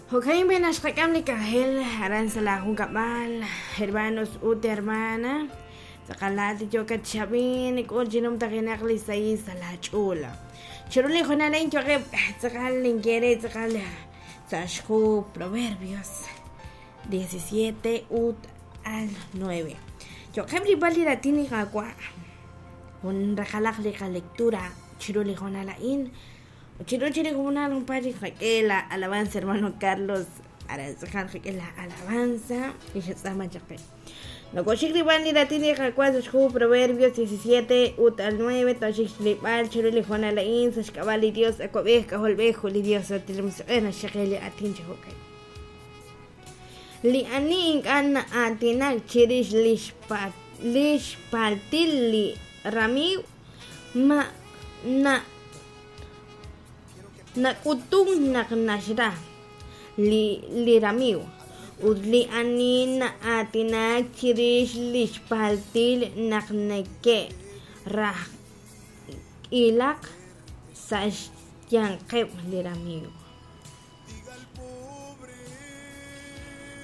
Jo'ka'in b'i' naxqak'am li k'anjel aran sa' laajunkab'al, hermanos ut hermana. Tz'aqal laa'at li yookat chi ab'ink, k'ul chi numtajenaq li sahil sa' laach'ool. Chiru li hoonal a'in yo'qeb' tz'aqal ninye re tz'aqal sa' xhu Proverbios 17 ut al 9. Yo'qeb' rilb'al li raatin li Qaawa', jun raqalaq li qalectura chiru li hoonal a'in. Chiru chi li hoonal junpaat chik qak'e la alabanza hermano Carlos aran tz'aqal qak'e la alabanza li xatz'aama chaq qe. Nokoxik rilb'al li raatin li Qaawa' sa' xhu Proverbios 17 ut al 9 toxik xlib'al chiru li hoonal a'in sa' xk'ab'a' li Dios Awab'ej K'ajolb'ej ut li Dios Santil Musiq'ej naxxaqe li aatin chi jo'kan. Li ani ink'a' na'aatinak chirix lix paltil li ramiiw ma na nak'utunk naq naxra li li ramiiw, ut li ani na'aatinak chirix li xpaltil naq neke'rajk'ilaq sa' xyanqeb' li ramiiw.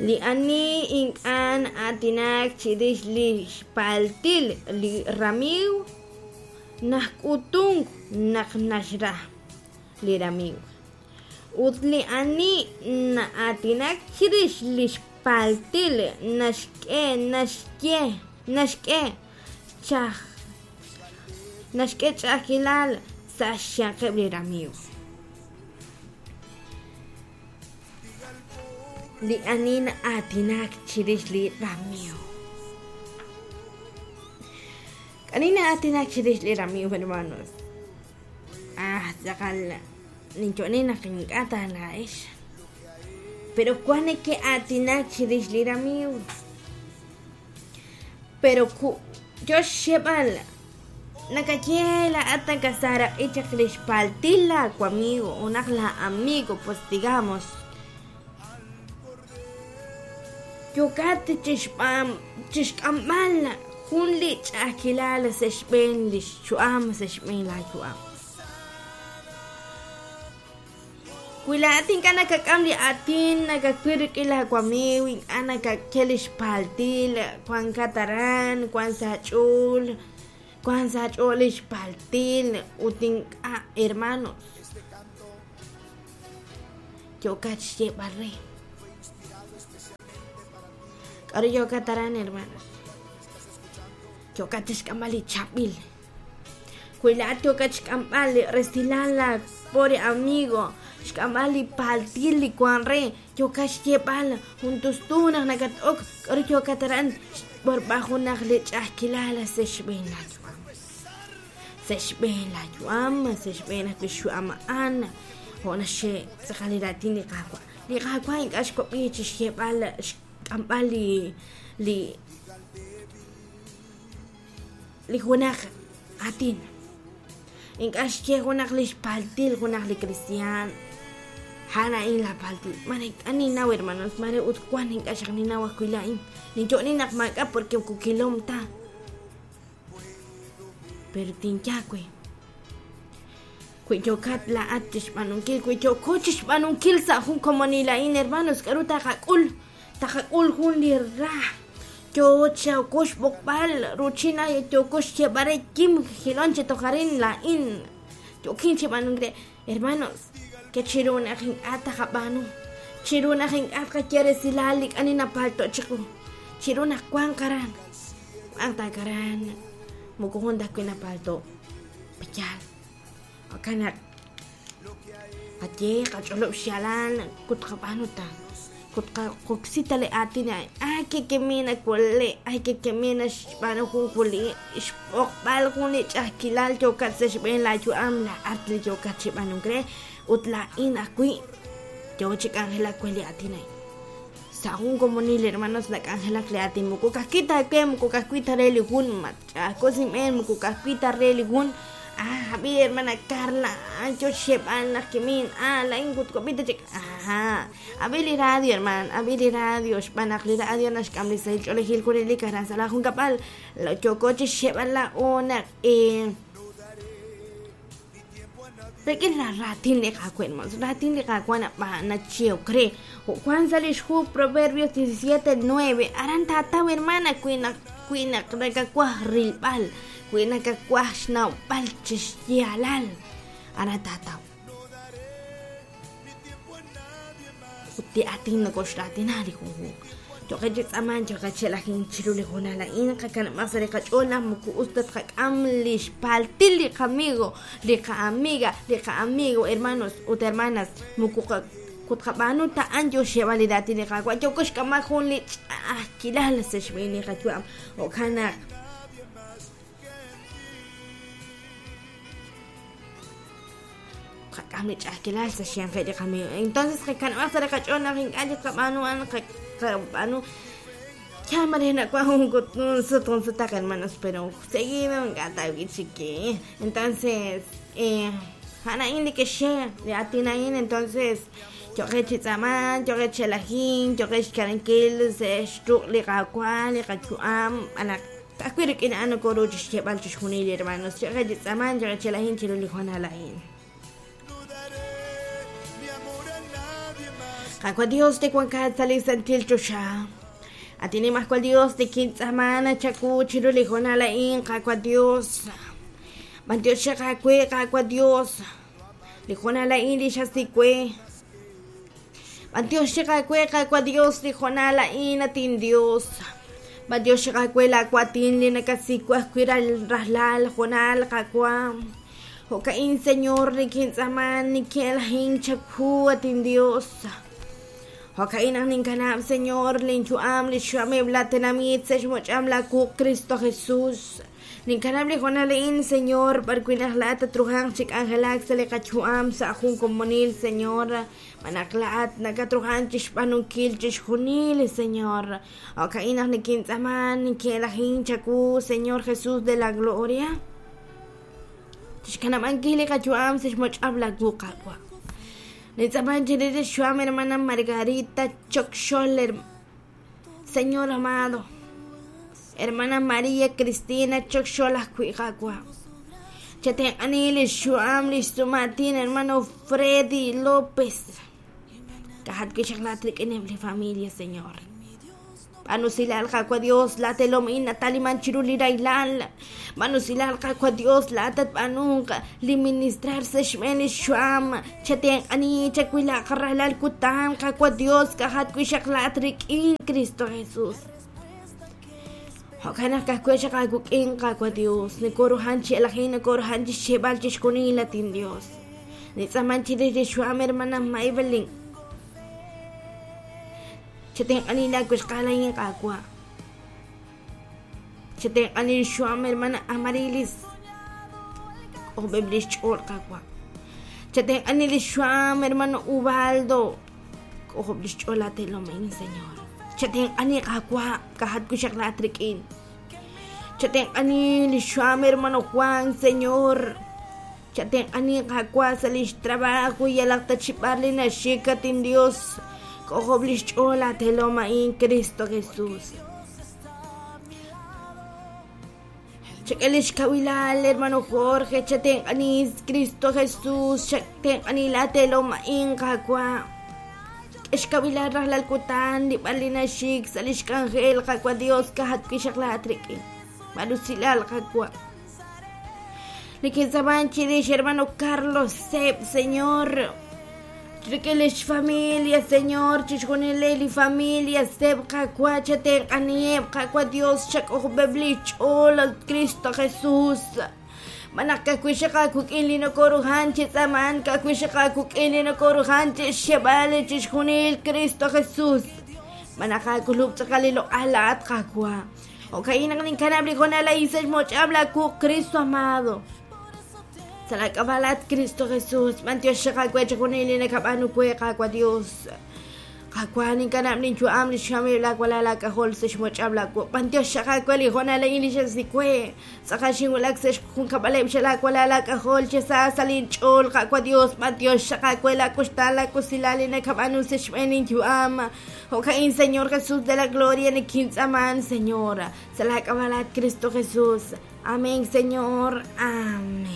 Li ani ink'a' na'aatinak chirix li xpaltil li ramiiw nak'utunk naq naxra li ramiiw, ut li ani na'aatinak chirix li xpaltil naxk'e naxye naxk'e naxk'e ch'a'ajkilal sa' xyanqeb' li ramiiw. Li ani na'aatinak chirix li ramiiw. Ani na'aatinak chirix li ramiiw, hermanos? Ah, tz'aqal ninyo'ni naq ink'a' ta laa'ex. Pero wan neke'aatinak chirix li ramiiw. Pero ku yo xxeb'al nakaye laa'at nakasaaraq'i chaq li xpaltil laawamigo junaq laa amigo pues digamos yookat chixb'am chixk'amb'al jun li ch'a'ajkilal sa' xb'een li xyu'am sa' xb'een laayu'am. Wi laa'at ink'a' nakak'am li aatin nakawil rik'in laawamiiw, ink'a' nakake li xpaltil, wankat aran, wank sa' aach'ool, wank sa' aach'ool li xpaltil ut ink'a' hermanos. Yookat xyeeb'al re. K'aru yookat aran, hermanos? Yookat chixk'amb'al li chaab'il. Wi laa'at yookat xk'amb'al resilal laa pobre amigo, xk'amb'al li paltil li wank re, yookat xyeeb'al jun tustu naq nakat-ok, k'aru yookat aran xb'orb'al junaq li ch'a'ajkilal sa' xb'een laa yu'am. Sa' xb'een laa yu'am, sa' xb'een ajwi' xyu'am a'an, jo' naxye tz'aqal li raatin li Qaawa'. Li Qaawa' ink'a' xwab'i chi xyeeb'al xk'amb'al li li li junaq aatin. Ink'a' xye junaq li xpaltil junaq li kristiaan. A'an a'in laa paltil. Mare ink'a' ninnaw, hermanos, mare ut wan ink'a' xaq ninnaw ajwi' laa'in. Ninyo'ni naq maak'a' porque moko kilom ta. Pero tinye aawe, wi yookat laa'at chixb'aanunkil, wi yooko chixb'aanunkil sa' jun komonil a'in, hermanos, k'a'ru taqak'ul? Taqak'ul jun li ra. Yoo yooko xb'oqb'al ruuchin ay yooko xyeeb'al re kim jilon chi toj arin laa'in yookin chi b'aanunk re. Hermanos, ke chiru naq ink'a' taqab'aanu, chiru naq ink'a' tqaye resilal li k'ani napalto' chiqu, chiru naq wanq aran, wanq ta aran, moko jun ta ajwi' napalto'. Pe'yaal? Jo'kan naq qaye, qach'olob' xyaalal ut qab'aanu ta. Ut qoksi ta li aatin a'in. Ay que kemina wole, ay que kemina xb'aanu jun wuli, xb'oqb'al jun li ch'a'ajkilal yookat sa' xb'een laayu'am, laa'at li yookat chi b'aanunk re, ut laa'in ajwi' yoo chi k'anjelak we li aatin a'in. Sa' jun komonil, hermanos, nak'anjelak li aatin moko ka'ajwi' ta we, moko ka'ajwi' ta re li jun, match'a'ajko' sa' inb'een, moko ka'ajwi' ta re li jun. Ah, ab'i hermana Carla, ah, yo xyeeb'al naq kimin, ah, laa'in ut wab'i ta chik, aha. Ab'i li radio, hermana, ab'i li radio, xb'aan naq li radio naxk'am li sahil ch'oolejil junelik aran sa' laa junkab'al. Yooko chixyeeb'al laa'o naq eh, Rik'in la raatin li Qaawa', hermanos, raatin li Qaawa' nachehok re. Jo' wank sa' li xhu Proverbios 17:9, aran taataw, hermana, wi naq wi naq nakawaj rilb'al, wi nakawaj xnawb'al chi xyaalal, aran taataw. Ut li aatin nokoxraatina li junjunq. Yo'qeb' chi tz'aamank, yo'qeb' chi elajink chiru li hoonal a'in, qakanab'aq sa' li qach'ool naq moko us ta tqak'am li xpaltil li qamigo, li qa'amiga, li qa'amigo, hermanos ut hermanas, moko tqab'aanu ta a'an yo xyeeb'al li raatin li Qaawa', yooko xk'amb'al jun li ch'a'ajkilal sa' xb'een li qayu'am. Jo'kan naq tqak'am li ch'a'ajkilal sa' xyanqeb' li qamigo. Entonces qakanab'aq sa' li qach'ool naq ink'a' chik tqab'aanu a'an, qab'aanu ya mare nak'uaj jun sut jun sutaq, hermanos, pero seguido ink'a' ta wi'chik. Entonces, a'an a'in li ke'xye li aatin a'in, entonces yo'qeb' chi tz'aamank, yo'qeb' chi elajink, yo'qeb' xkanankil sa' xruq' li Qaawa' li qayu'am, b'an naq ka'ajwi' rik'in a'an nokoru chi xyeeb'al chixjunil, hermanos. Yo'qeb' chi tz'aamank, yo'qeb' chi elajink chiru li hoonal a'in. Qaawa' Dios li wankat sa' li santil choxa, at Nimajwal Dios nikintz'aaman chawu chiru li hoonal a'in, Qaawa' Dios. B'antiox aawe, Qaawa' Dios, li hoonal a'in li xasik we. B'antiox aawe, Qaawa' Dios, li hoonal a'in, at inDios. B'antiox aawe laawaatin li nakasik we ajwi' rajlal hoonal, Qaawa'. Jo'ka'in, Señor, nikintz'aaman, nikin'elajink chawu, at inDios. Jo'ka'in naq ninkanab', Señor, linyu'am, li xyu'ameb' laatenamit sa' xmoch'am laawuq', Cristo Jesús. Ninkanab' li hoonal a'in, Señor, b'arwi' naq laa'at tatruhanq chi k'anjelak sa' li qayu'am sa' jun komonil, Señor. B'an naq laa'at nakatruhank chi xb'aanunkil chixjunil, Señor. Jo'ka'in naq nikintz'aaman, nikin'elajink chawu, Señor Jesús de la Gloria. Chixkanab'ankil li qayu'am sa' xmoch'ab' laawu, Qaawa'. Nintz'aaman chirix li xyu'am hermana Margarita Chokxol, Señor amado. Hermana María Cristina Chokxol ajwi', Qaawa'. Chatenq'ani li xyu'am li xsumaatin hermano Freddy López. Ka'ajat wi' xaq laa'at rik'ineb' li familia, Señor. B'aanu usilal, Qaawa' Dios, laatelom a'in nataliman chiru li rahilal. B'aanu usilal, Qaawa' Dios, laa'at tatb'aanunq li ministrar sa' xb'een li xyu'am. Chatenq'ani, chawilaq rajlal kutan, Qaawa' Dios, ka'ajat wi' xaq laa'at rik'in Cristo Jesús. Jo'kan naq ka'ajwi' xaq aawik'in, Qaawa' Dios, nokoruhan chi elajink, nokoruhan chi xyeeb'al chixjunil, at inDios. Nitz'aaman chirix li xyu'am hermana Maybelline. Chatenq'ani laawixqal a'in, Qaawa'. Chatenq'ani li xyu'am hermana Amarilis. K'ojob'eb' li xch'ool, Qaawa'. Chatenq'ani li xyu'am hermano Ubaldo. K'ojob' li xch'ool laatelom a'in, Señor. Chatenq'ani, Qaawa', ka'ajat wi' xaq laa'at rik'in. Chatenq'ani li xyu'am hermano Juan, Señor. Chatenq'ani, Qaawa', sa' li xtrabajo yalaq ta chi b'ar li naxik, at inDios. K'ojob' li xch'ool laatelom a'in, Cristo Jesús. Chak'e li xkawilal, hermano Jorge, chatenq'ani, Cristo Jesús, chatenq'ani laatelom a'in, Qaawa'. K'e xkawilal rajlal kutan li b'ar li naxik sa' li xk'anjel, Qaawa' Dios, ka'ajat wi' xaq laa'at rik'in. B'ar usilal, Qaawa'. Nikintz'aaman chirix hermano Carlos Seb, Señor. Rik'in li xfamilia, Señor, chixjunil li familia Seb, Qaawa', chatenq'aniheb', Qaawa' Dios, chak'ojob'eb' li xch'ool, Cristo Jesús. B'an naq ka'ajwi' xaq aawik'in li nokoruhan chi tz'aamank, ka'ajwi' xaq aawik'in li nokoruhan chi xxeb'al chixjunil, Cristo Jesús. B'an naq aak'ulub' tz'aqal li loq'al laa'at, Qaawa'. Jo'ka'in naq ninkanab' li hoonal a'in sa' xmoch'ab' laawuq', Cristo amado. Sa' laak'ab'a' laa'at, Cristo Jesús, b'antiox xaq aawe chixjunil li nakab'aanu we, Qaawa' Dios. Qaawa', ninkanab' linyu'am li xyu'ameb' laawalal aak'ajol sa' xmoch'ab' laawuq'. B'antiox xaq aawe li hoonal a'in li xasik we. Tz'aqal xinwulak sa' xjunkab'aleb' xa laawalal aak'ajol chi sa sa' linch'ool, Qaawa' Dios. B'antiox xaq aawe laawuxtaan laawusilal li nakab'aanu sa' xb'een linyu'am. Jo'ka'in, Señor Jesús de la Gloria, nikintz'aaman, Señor, sa' laak'ab'a' laa'at, Cristo Jesús. Amén, Señor. Amén.